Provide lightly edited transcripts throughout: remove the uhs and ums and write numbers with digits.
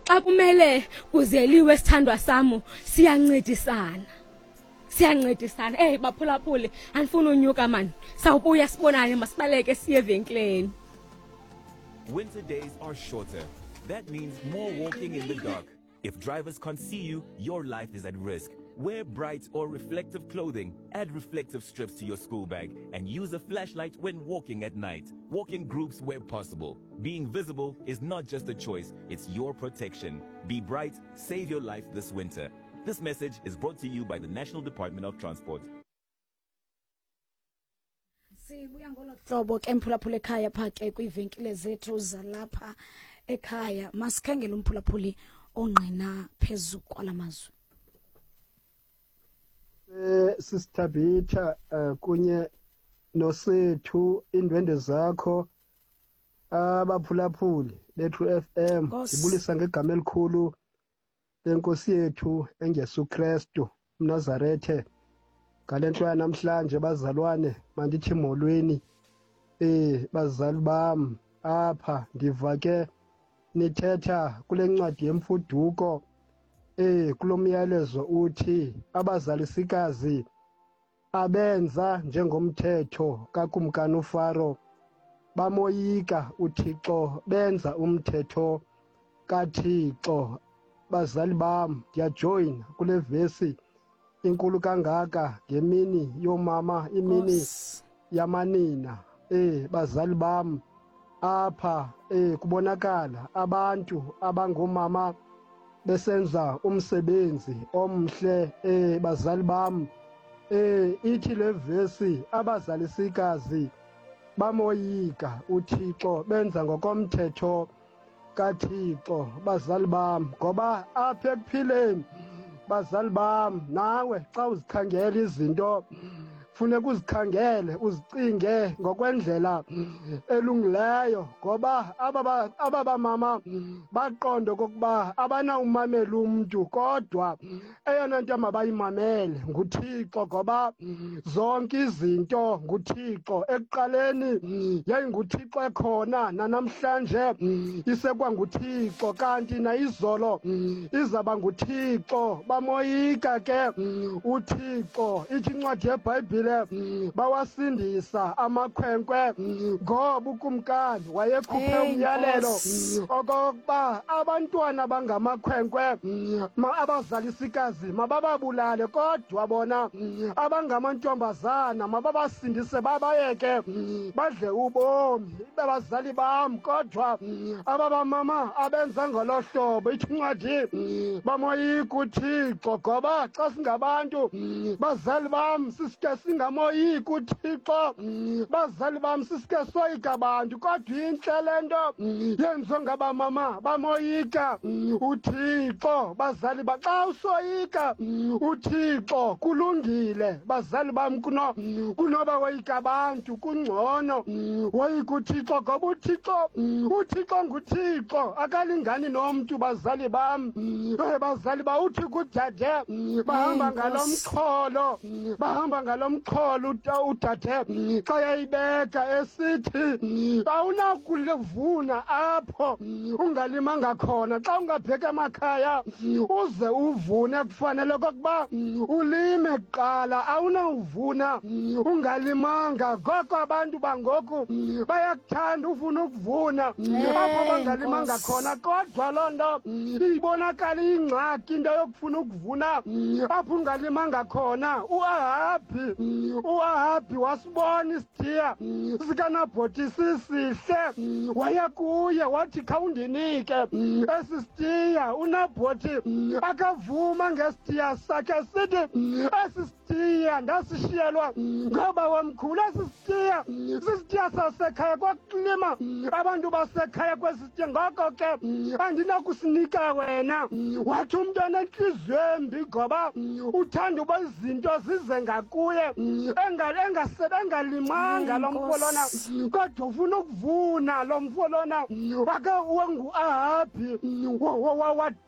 Xa kumele kuzeliwe, sithandwa sam, siyancedisana, siyancedisana. Eyi baphulaphuli, andifuni unyuka mani, sawubuya sibonane, masibaleke siye evenkileni. Winter days are shorter. That means more walking in the dark. If drivers can't see you, your life is at risk. Wear bright or reflective clothing, add reflective strips to your school bag, and use a flashlight when walking at night. Walk in groups where possible. Being visible is not just a choice, it's your protection. Be bright, save your life this winter. This message is brought to you by the National Department of Transport. Sibuya ngolo hlobo ke, mphulaphula ekhaya, pha ke kwiivenkile zethu zalapha ekhaya. Masikhangele umphulaphuli ongqina phezu kwala mazwi. Sisithabitha kunye nosethu, indwende zakho, abaphulaphuli bethu FM. Nkosi. Ndibulisa ngegama elikhulu lenkosi yethu engesu Kristu uMnazarethe. Ngale nto yanamhlanje, bazalwane, mandithi molweni. Bazali bam, apha ndiva ke nithetha kule ncwadi yemfuduko, kulo myalezo uthi abazalisikazi abenza njengomthetho kakumkani uFaro, bamoyika uThixo, benza umthetho kaThixo. Bazali bam, ndiyajoyina kule vesi inkulu kangaka ngemini yomama, imini Nkosi. yamanina. Bazali bam, apha kubonakala abantu abangomama besenza umsebenzi omhle. Bazali bam, ithi le vesi abazalisikazi bamoyika uThixo, benza ngokomthetho kaThixo. Bazali bam, ngoba apha ekuphileni, bazali bam, nawe xa uzikhangela izinto funeka uzikhangele, uzicinge ngokwendlela elungileyo, ngoba aba bamama baqonda okokuba abanawumamela umntu, kodwa eyona nto mabayimamele nguThixo, ngoba zonke izinto nguThixo. Ekuqaleni yayinguThixo ekhona, nanamhlanje isekwanguThixo, kanti nayizolo izaba nguThixo. Bamoyika ke uThixo. Ithi incwadi yeBhayibhile bawasindisa amakhwenkwe, ngoba ukumkani wayekhuphe Hey, umyalelo Nkosi. okokuba abantwana bangamakhwenkwe abazalisikazi mabababulale, kodwa bona abangamantombazana mababasindise, babayeke badle ubomi. Babazali bam, kodwa ababamama abenza ngolo hlobo. Ithi incwadi bamoyika uThixo, ngoba xa singabantu, bazali bam, sisike singamoyiki uThixo. Bazali bam, sisike soyika abantu, kodwa intle le nto yenziwe ngabamama, bamoyika uThixo. Bazali ba, xa usoyika uThixo kulungile, bazali bam, kunoba woyika abantu, kungcono woyika uThixo, ngoba uThixo nguThixo, akalingani nomntu. Bazali bam, bazali ba, uthi kudade bahamba Hey, ngalo Nkosi. mxholo, bahamba ngalo mxholo. Udade xa yayibeka esithi awunakulivuna apho ungalimanga khona. Xa ungabheka emakhaya uze uvune, kufanele okokuba ulime kuqala, awunawuvuna ungalimanga. Ngoko abantu bangoku bayakuthanda ufuna ukuvuna apho Hey, bangalimanga Nkosi. khona, kodwa loo nto ibonakala iyingxaki, into yokufuna ukuvuna apho ungalimanga khona. uAhabhi wasibona isitiya sikaNabhoti sisihle, waya kuye wathi, "Khawundinike esi sitiya." UNabhoti akavuma ngesitiya sakhe, sithi, "Esi sitiya ndasishiyelwa ngoba wamkhulu. Esi sitiya sisitiya sasekhaya, kwakulima abantu basekhaya kwesi sitiya, ngoko ke andinakusinika wena." Wathi umntu onentliziyo embi, ngoba uthanda uba izinto zize ngakuye, engalimanga lo mfo lona, Nkosi. kodwa ufuna ukuvuna lo mfo lona. Wake wenguAhabhi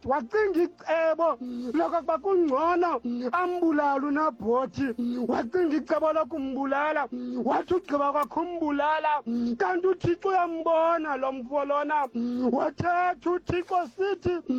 wacinga icebo lokokuba kungcono ambulale uNabhoti. Wacinga icebo lokumbulala, wathi ugqiba kwakhe umbulala, kanti uThixo uyambona lo mfo lona. Wathetha uThixo sithi